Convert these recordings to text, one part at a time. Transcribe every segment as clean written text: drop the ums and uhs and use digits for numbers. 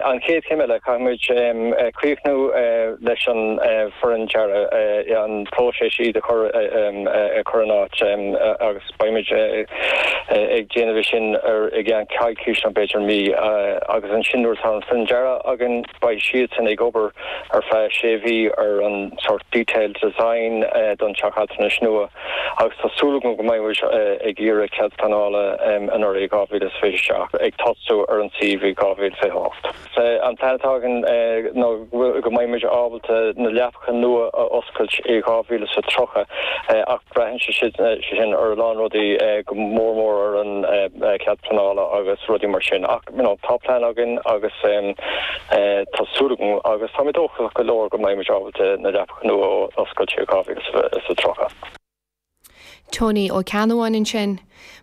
An chéad chéim eile, caithfimid críochnú leis an foireann dearaidh, an próiseas iad a chur in áit agus beimid ag déanamh é sin i gceann coicís nó b'fhéidir mí agus ansin nuair atá an foireann dearaidh againn beidh siadsan ag obair ar feadh sé mhí ar an sort detailed design don teach altranais nua. Agus tá súil agam go mbeidh muid ag iarraidh cead pleanála anuraidh i 2027, ag tosú ar an suíomh i 2028. An plean atá againn ná go mbeidh muid ábalta na leapacha nua a oscailt i 2030 ach braitheann sé sin ar a lán rudaí, go mór mór ar an cead pleanála agus rudaí mar sin. Ach you know tá plean againn agus tá súil agam agus tá mé dóchasach go leor go mbeidh muid ábalta na leapacha nua a oscailt i 2030. Tony Ó Ceannabháin ansin.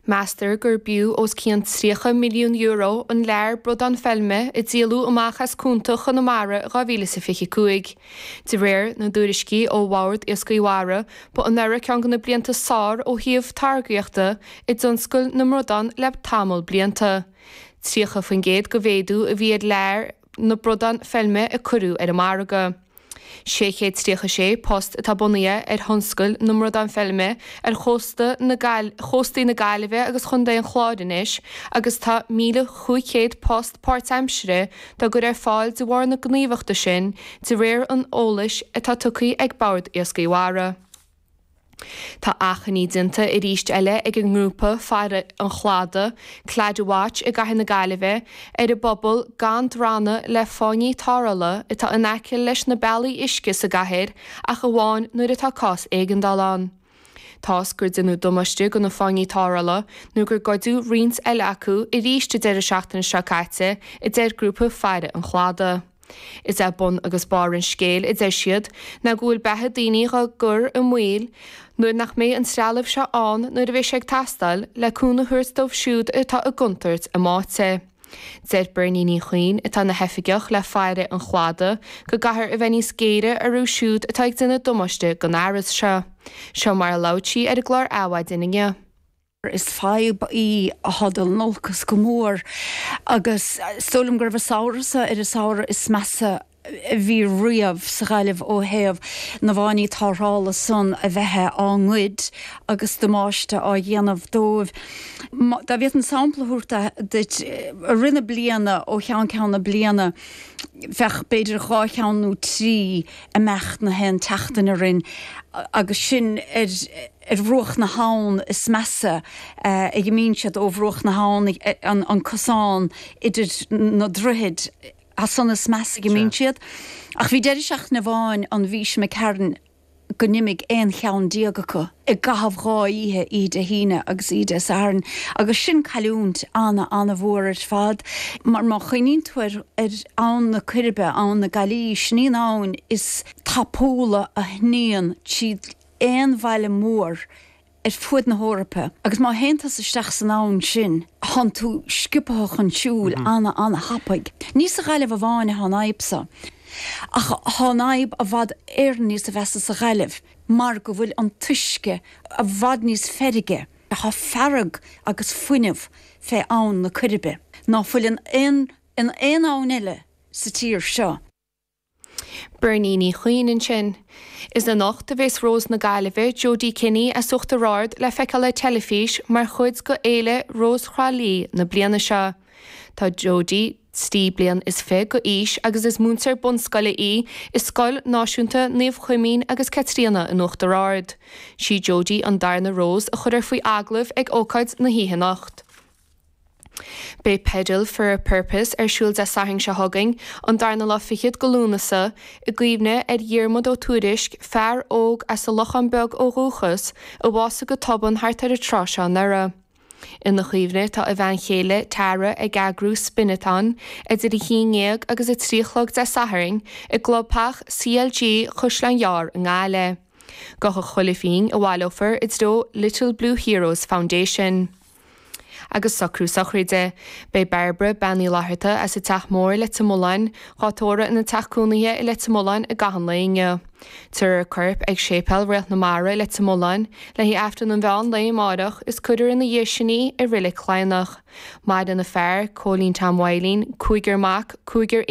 Meastar gur b'fhiú os cionn €30 milliún an lear bradán feilme a díoladh amach as cuanta Chonamara i 2025. De réir na dtuairiscí ó Bhord Iascaigh Mhara, ba anuraidh ceann de na blianta is fearr ó thaobh táirgíochta i dtionscal na mbradán le tamall blianta. 30% de mhéadú a bhí ar lear na bradán feilme a cuireadh ar an margadh. 636 post atá bunaithe ar thionscal na mbradán feilme ar chósta na chóstaí na Gaillimhe agus Chontae an Chláir anois agus tá 1,500 post páirtaimsire dá gcur ar fáil de bharr na gníomhachta sin de réir an eolais atá tugtha ag Bord Iascaigh Mhara. Tá achainí déanta arís eile ag an ngrúpa Faire an Chladaigh, Claddagh Watch i gcathair na Gaillimhe, ar an bpobal gan drannadh le fáinní tarrthála atá in aice leis na bealaí uisce sa gcathair ach amháin nuair atá cás éigeandála ann. Toisc gur déanadh damáiste do na fáinní tarrthála nó gur goideadh roinnt eile acu arís an deireadh seachtaine seo caite, a deir grúpa Faire an Chladaigh. Is é bun agus barr an scéil, a deir siad, ná go bhfuil beatha daoine dhá gcur i mbaol nuair nach mbeidh an trealamh seo ann nuair a bheidh sé ag teastáil le cúnamh a thabhairt dóibh siúd atá i gcontúirt a mbáite. Deir Bernie Ní Chuinn, atá ina hoifigeach le Faire an Chladaigh, go gcaithfear a bheith níos géire orthu siúd atá ag déanamh damáiste don fhearas seo. Seo mar a labhair sí ar an gclár Adhmhaidin inniu. Is fadhb í atá ag dul in olcas go mór agus is dóigh liom go raibh an samhradh seo ar an samhradh is measa a bhí riamh sa Ghaillimh ó thaobh na bhfáinní tarrthála san a bheith á ngoid agus damáiste á dhéanamh dóibh. Dá bhféadfainn sampla a thabhairt duit, i rith na bliana, ó cheann ceann na bliana, bheadh b'fhéidir dhá cheann nó trí ag imeacht na haon tseachtain orainn agus sin ar ar bhruach na habhann is measa a imíonn siad ó bhruach na habhann, an cosán idir na droichid, as san is measa a imíonn siad. Ach bhí deireadh seachtaine amháin an mhí seo imigh tharainn go n-imigh aon cheann déag acu i gcaitheamh dhá oíche, oíche Dé hAoine agus oíche Dé Sathairn, agus sin cailliúint ana-ana-mhór ar fad, mar má chuimhníonn tú ar Abhainn na Coiribe, Abhainn na Gaillí, sin í an abhainn is tapúla a shníonn tríd aon bhaile mór ar fuaid na hEorpa agus má théann tusa isteach san abhainn sin thánn tú sciobtha chun siúil ana ana thapaidh. Ní sa Ghaillimh amháin atá an fhadhb so ach thá an fhadhb i bhfad Éireann níos mheasa sa Ghaillimh mar go bhfuil an t-uisce i bhfad níos feirge. Thá fearg agus fuinneamh fé abhainn na Coiribe ná fuil in aon in aon abhainn eile sa tír seo. Bernie Ní Chuinn ansin. Is anocht a bheas Rós na Gaillimhe, Jodie Kinney as Uachtar Ard le feiceáil ar teilifís mar chuid de Fhéile Rós Thrá Lí na bliana seo. Tá Jodie 23 bliain d'aois agus is múinteoir bunscoile í i Scoil Náisiúnta Naomh Cuimín agus Caitríona in Uachtar Ard. Sí Jodie an darna Rós a chuirfear faoi agallamh ag ócáid na hoíche anocht. Beidh Pedal for a Purpose ar siúl Dé Sathairn seo chugainn, an darna lá fichead de Lúnasa, i gcuimhne ar Dhiarmuid Ó Tuairisg, fear óg as an Lochán Beag ó dhúchas, a bhásaigh go tobann thart ar an tráth seo anuraidh. Ina chuimhne tá a bhean chéile, Tara, ag eagrú Spin-a-thon idir 11 agus 3 a chlog Dé Sathairn i gclubtheach CLG Chaisleán Ghearr i nGaillimh. Gabhfaidh chuile phingin a bhaileofar i dtreo Little Blue Heroes Foundation. Agus socrú sochraide. Beidh Bairbre, Bean Uí Fhlatharta, as an Teach Mór, Leitir Mealláin, dhá tórramh ina teach cónaithe i Leitir Mealláin i gcaitheamh an lae inniu. Tabharfar a corp ag Séipéal Réalt na Mara i Leitir Mealláin le haghaidh Aifreann an mheán lae amáireach is cuirfear ina dhiaidh sin í i Reilig Chladhnach. Maireann a fear, Cóilín Tom Mhaidhlín, cúigear mac, cúigear.